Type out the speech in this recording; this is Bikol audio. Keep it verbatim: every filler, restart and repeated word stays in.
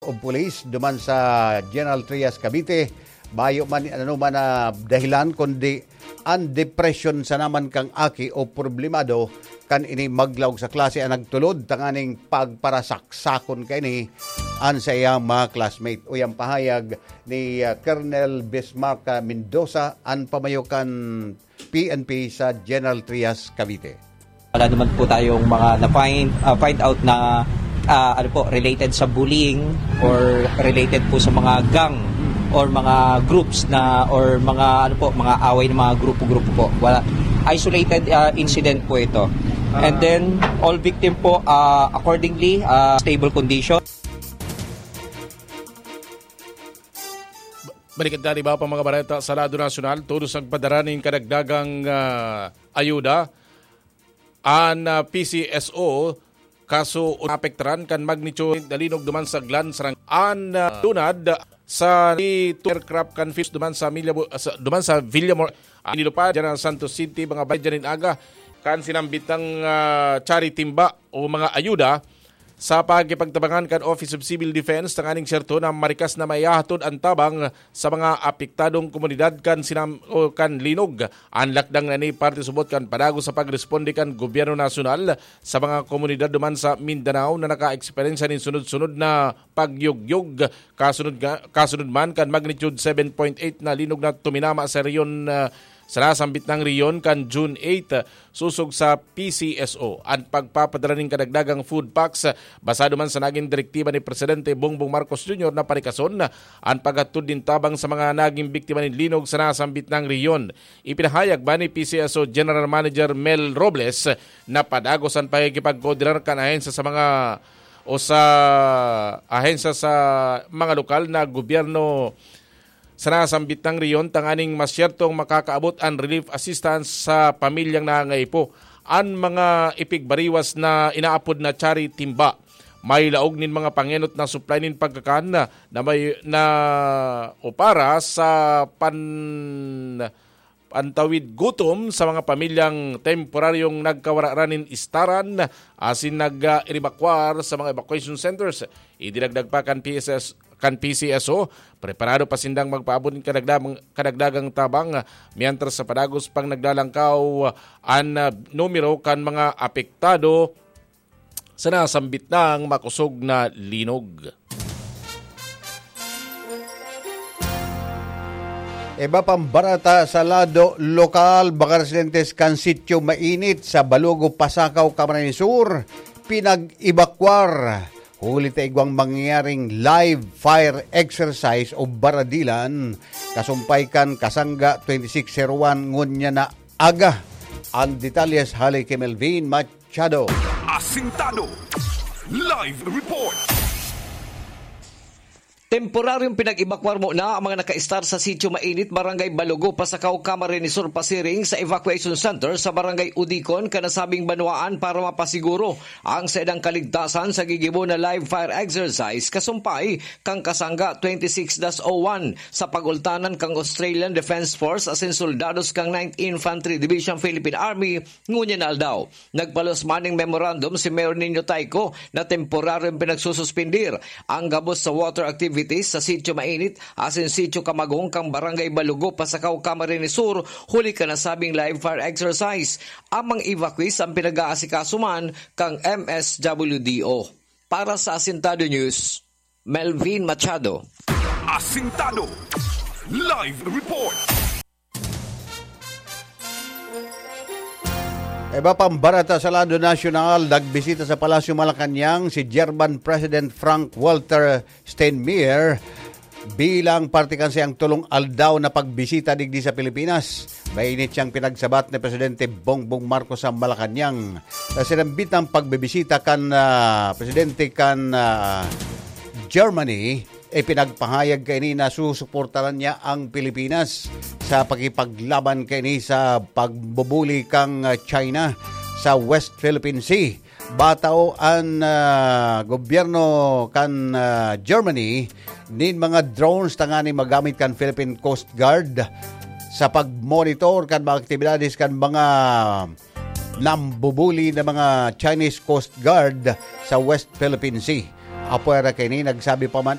of Police duman sa General Trias, Cavite. Mayo man ano man na dahilan, kundi ang depresyon sana man kang aki o problemado kan ini maglaog sa klase ang nagtulod tanganing pagparasaksakon kaini an sa iyang mga classmate. Uyan pahayag ni, ah, Colonel Bismarck, ah, Mendoza, an pamayo kan P N P sa General Trias, Cavite. Wala naman po tayong mga na-find, ah, find out na, ah, ano po, related sa bullying or related po sa mga gang or mga groups na, or mga, ano po, mga away ng mga grupo-grupo po. Wala. Isolated, ah, incident po ito. And then, all victim po, ah, accordingly, ah, stable condition. Balikan ta an iba pa mga bareta sa lado nasyonal. Todos nagpadara nin kadagdagang, ah, ayuda an, ah, P C S O, kaso apektaran kan magnitude na linog duman sa Glan Sarang. An, ah, lunad sa aircraft kan Philippines duman sa Milya-, sa, duman sa Villamor, ah, nilupad dyan ang Santos City, mga balay dyan in aga. Kan sinambit ng, ah, charity timba o mga ayuda sa pagkipagtabangan kan Office of Civil Defense, tanganing serto na marikas na maihahatod an tabang sa mga apektadong komunidad kan sinam-, o kan linog. An lakdang na ini parte subot kan padagos sa pagresponde kan gobyerno nasyonal sa mga komunidad duman sa Mindanao na naka-eksperyensya nin sunod-sunod na pagyugyog. Kasunod nga, kasunod man kan magnitude seven point eight na linog na tuminama sa rehiyon, ah, sa nasambit nang rehiyon kan June eight, sosog sa P C S O. An pagpapadara nin kadagdagang food packs, basado man sa nagin direktiba ni Presidente Bongbong Marcos Junior na parikason an paghatod nin tabang sa mga nagin biktima nin linog sa nasambit nang rehiyon. Ipinahayag man ni P C S O General Manager Mel Robles na padagos an pakikipagkoordinar kan ahensya sa mga, o sa ahensya sa mga lokal na gobyerno sa nasambit nang rehiyon tanganing masyertong makakaabot an relief assistance sa pamilyang nangangaipo. An mga ipigbariwas na inaapod na charity timba, may laog nin mga pangenot na supply nin pagkakan na, na may, na o para sa pan-, pantawid gutom sa mga pamilyang temporaryong nagkawara nin istaran asin nag-ebakwar sa mga evacuation centers. Idinagdag pa kan P S S, kan P C S O, preparado pa sindang magpaabot nin kadagdag-, kadagdagang tabang, mientras sa padagos pang naglalangkaw an, ah, numero kan mga apektado sa nasambit nang makosog na linog. Iba pang bareta sa lado lokal, mga residentes kan Sitio Mainit sa Balugo, Pasacao, Camarines Sur, pinag-ebakwar huli ta igwang mangyayaring live fire exercise o baradilan, kasumpay kan Kasangga twenty-six zero one ngunyan na aga. Ang detalles hale ki Melvin Machado. Asintado. Live report. Temporaryong pinag-ebakwar muna ang mga nakaistar sa Sitio Mainit, Barangay Balugo, Pasacao, Camarines Sur, pasiring sa evacuation center sa Barangay Udicon, kanasabing banwaan para mapasiguro ang saindang kaligtasan sa gigibo na live fire exercise kasumpay kan Kasangga twenty-six dash oh one sa pagultanan kan Australian Defense Force asin soldados kan Ninth Infantry Division Philippine Army ngunyan na aldaw. Nagpalos man nin memorandum si Mayor Nino Tayco na temporaryong pinagsususpindir ang gabos sa water activities sa Sitio Mainit asin Sitio Kamagong kan Barangay Balugo, Pasacao, Camarines Sur, huli kan nasabing live fire exercise. Ang mga evacuees an pinag-aasikaso man kan M S W D O. Para sa Asintado News, Melvin Machado. Asintado. Live report. Iba pang bareta sa lado nasyonal, nagbisita sa Palasyo Malacañang si German President Frank Walter Steinmeier bilang parte kan saiyang tolong aldaw na pagbisita digdi sa Pilipinas. Mainit siyang pinagsabat ni Presidente Bongbong Marcos sa Malacañang. Sa sinambit ng pagbibisita kan, ah, Presidente kan, ah, Germany, ipinagpahayag kaini na susuportaran niya ang Pilipinas sa pakipaglaban kaini sa pagbubuli kan, ah, China sa West Philippine Sea. Batao an, ah, gobyerno kan, ah, Germany nin mga drones tanganing magamit kan Philippine Coast Guard sa pag-monitor kan mga aktibidades kan mga nambubuli na mga Chinese Coast Guard sa West Philippine Sea. Apwera kaini, nagsabi pa man